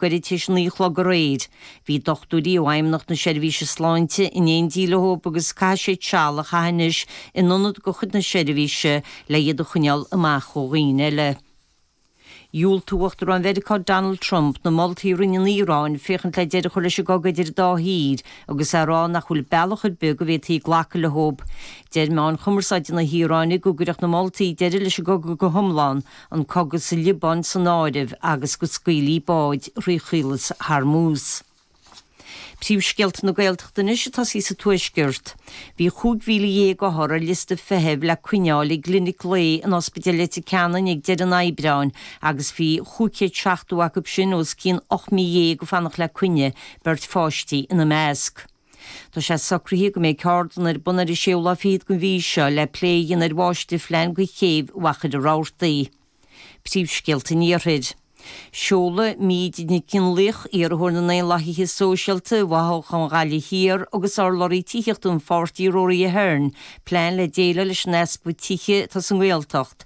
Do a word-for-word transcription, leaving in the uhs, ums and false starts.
Goirid tar éis a naoi a chlog aréir. Bhí dochtúirí ó Fheidhmeannacht na Seirbhíse Sláinte in éindí leo agus caithfidh siad seal a chaitheamh anois in ionad de chuid na seirbhíse le iad a choinneáil amach ó dhaoine eile. Dhiúltaigh Uachtarán Mheiriceá Donald Trump na moltaí a rinne an Iaráin féachaint le deireadh a chur leis an gcogadh idir an dá thír agus é ag rá nach bhfuil bealach ar bith go bhféadfaí glacadh leo. Deir meáin chumarsáide na hIaráine go gcuirfeadh na moltaí deireadh leis an gcogadh go hiomlán, an cogadh sa Liobáin san áireamh agus go scaoilfí báid thrí Chaolas Hormuz. Príomhscéalta na Gaeltachta anois ag tosaí sa Tuaisceart. Bhí chúig mhíle dhéag othar ar liosta feithimh le coinneáil i gclinic lae in Ospidéal Leitir Ceanainn ag deireadh an Aibreáin agus bhí chúig chéad seachtó acu sin os cionn ocht mí dhéag ag fanacht le coinne, beirt pháistí ina measc. Tá sé socraithe go mbeidh ceardlann ar bun ar an séú lá fichead den mhí seo le plé a dhéanamh ar mháistirphlean do chéibh Mhachaire Rabhartaigh. Príomhscéalta an Iarthair. Seolfaidh Míde Nic Fhionnlaoich, iarrthóir na nDaonlathaithe Sóisialta i bhfothoghchán Ghaillimh Thiar agus urlabhraí tithíochta an pháirtí Rory Ahern, plean le déileáil leis an easpa tithe atá sa nGaeltacht